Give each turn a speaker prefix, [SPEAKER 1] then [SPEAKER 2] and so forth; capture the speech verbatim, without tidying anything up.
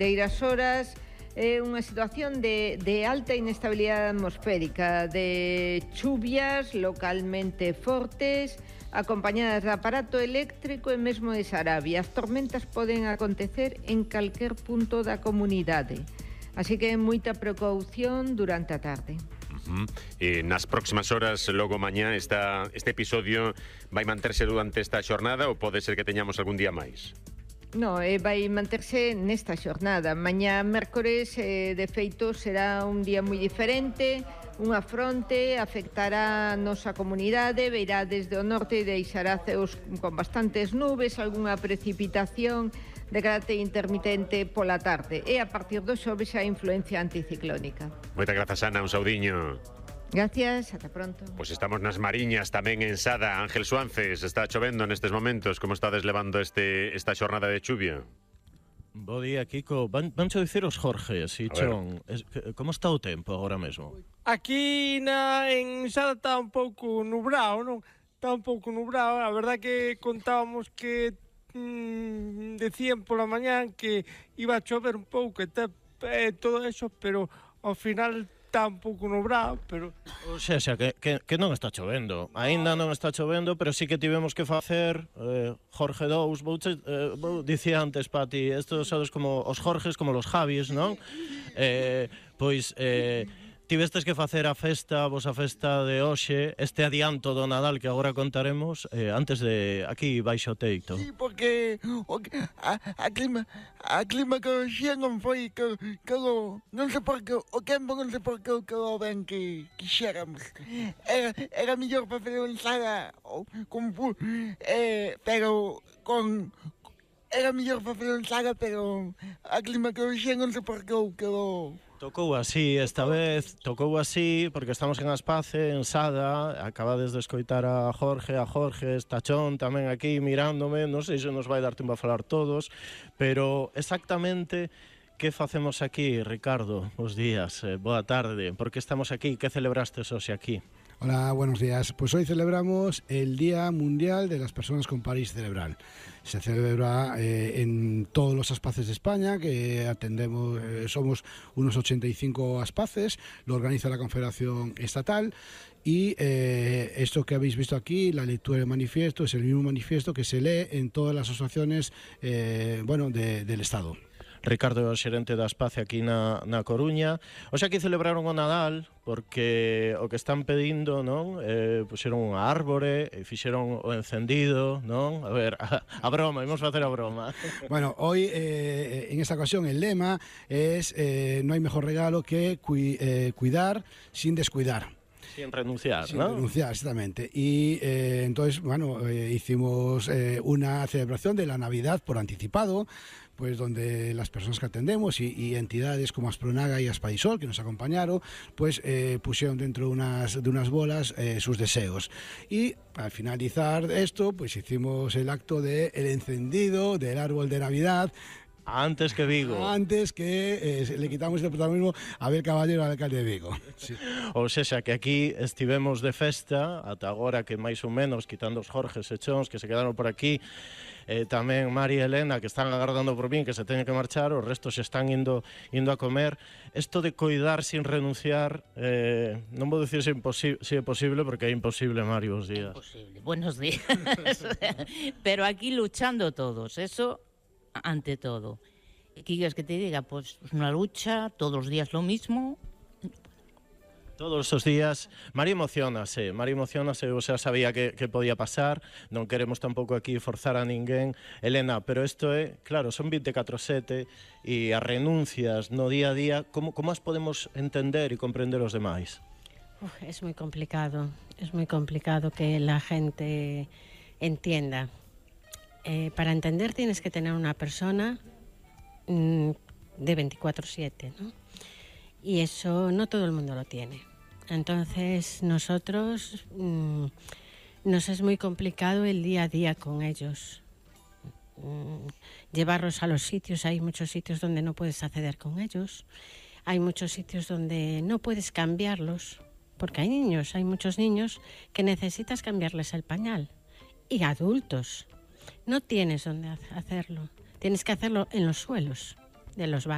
[SPEAKER 1] Deiras horas é unha situación de, de alta inestabilidade atmosférica, de chuvias localmente fortes, acompañadas de aparato eléctrico e mesmo de Sarabia. As tormentas poden acontecer en calquer punto da comunidade, así que moita precaución durante a tarde.
[SPEAKER 2] Uh-huh. E nas próximas horas, logo mañá, esta, este episodio vai manterse durante esta xornada ou pode ser que teñamos algún día máis?
[SPEAKER 1] No, eh, vai manterse nesta xornada. Mañá mércores, eh, de feito, será un día moi diferente. Unha fronte afectará a nosa comunidade, veirá desde o norte e deixará ceos con bastantes nubes, algunha precipitación de carácter intermitente pola tarde. E a partir do xoves a influencia anticiclónica.
[SPEAKER 2] Moitas grazas, Ana, un saudiño.
[SPEAKER 1] Gracias, ata pronto.
[SPEAKER 2] Pois pues estamos nas Mariñas, tamén en Sada. Ángel Suances, está chovendo nestes momentos. Como estades levando este, esta xornada de chuvia?
[SPEAKER 3] Bo día, Kiko. Van, vancho dicir os Jorges, e Chon. Es, como está o tempo agora mesmo?
[SPEAKER 4] Aquí na, en Sada está un pouco nubrado, non? Está un pouco nubrado. A verdad que contábamos que mmm, decían pola mañán que iba a chover un pouco e eh, todo eso, pero ao final está un pouco nubrado, pero...
[SPEAKER 3] O sea, xa, que, que, que non está chovendo. Aínda non está chovendo, pero sí que tivemos que facer eh, Jorge dous, vou, eh, vou dicía antes, Pati, estos sabes como os Jorges, como los Javis, non? Eh, pois... Eh, Tivestes que facer a festa, vos a festa de hoxe, este adianto do Nadal que agora contaremos, eh, antes de aquí baixo o teito.
[SPEAKER 5] Sí, porque o, a, a clima a clima que hoxe non foi que, que lo, non sei por que o tempo non sei por que que o ben que quixéramos. Era, era mellor para fazer unha ensala con eh, pero con era mellor para fazer unha ensala, pero a clima que hoxe non sei por que que o
[SPEAKER 3] Tocou así, esta vez, tocou así, porque estamos en Aspace, en Sada, acabades de escoitar a Jorge, a Jorge, Estachón tamén aquí mirándome, non sei se nos vai dar tempo a falar todos, pero exactamente que facemos aquí, Ricardo? Bos días, eh, boa tarde, por que estamos aquí, que celebrastes hoxe aquí?
[SPEAKER 6] Hola, buenos días. Pues hoy celebramos el Día Mundial de las Personas con Parálisis Cerebral. Se celebra eh, en todos los aspaces de España, que atendemos, eh, somos unos ochenta y cinco aspaces, lo organiza la Confederación Estatal, y eh, esto que habéis visto aquí, la lectura del manifiesto, es el mismo manifiesto que se lee en todas las asociaciones eh, bueno, de, del Estado.
[SPEAKER 3] Ricardo é o xerente da Aspace aquí na, na Coruña. Oxe, aquí celebraron o Nadal porque o que están pedindo, non? Eh, puxeron unha árbore e fixeron o encendido, non? A ver, a, a broma, imos facer a broma.
[SPEAKER 6] Bueno, hoy eh, en esta ocasión el lema es eh, no hay mejor regalo que cui, eh, cuidar sin descuidar.
[SPEAKER 3] Sin renunciar,
[SPEAKER 6] Sin
[SPEAKER 3] ¿no?
[SPEAKER 6] renunciar, exactamente. Y eh, entonces, bueno, eh, hicimos eh, una celebración de la Navidad por anticipado, pues donde las personas que atendemos y, y entidades como Aspronaga y Aspaisol, que nos acompañaron, pues eh, pusieron dentro de unas, de unas bolas eh, sus deseos. Y al finalizar esto, pues hicimos el acto del encendido del árbol de Navidad.
[SPEAKER 3] Antes que Vigo.
[SPEAKER 6] Antes que eh, le quitamos el protagonismo a Abel Caballero, al alcalde de Vigo. Sí.
[SPEAKER 3] Ou sexa, que aquí estivemos de festa, ata agora que máis ou menos, quitando os Jorges e Chons que se quedaron por aquí, eh, tamén Mari e Elena, que están agardando por min, que se teñen que marchar, os restos se están indo, indo a comer. Isto de coidar sin renunciar, eh, non vou dicir se, se é posible, porque é imposible, Mari, bons días.
[SPEAKER 7] Imposible, buenos días. Pero aquí luchando todos, eso... ante todo. ¿Qué quieres que te diga? Pues una lucha, todos los días lo mismo.
[SPEAKER 3] Todos os días. Mari emocionase, Mari emocionase, o sea, sabía que, que podía pasar, non queremos tampouco aquí forzar a ninguén. Elena, pero isto é, claro, son veinticuatro sete e as renuncias no día a día, como, como as podemos entender e comprender os demais?
[SPEAKER 8] Uf, es muy complicado, es muy complicado que la gente entienda. Eh, para entender tienes que tener una persona mmm, de veinticuatro siete, ¿no? Y eso no todo el mundo lo tiene. Entonces nosotros mmm, nos es muy complicado el día a día con ellos. Mmm, llevarlos a los sitios, hay muchos sitios donde no puedes acceder con ellos, hay muchos sitios donde no puedes cambiarlos, porque hay niños, hay muchos niños que necesitas cambiarles el pañal, y adultos. No tienes dónde hacerlo. Tienes que hacerlo en los suelos de los baños.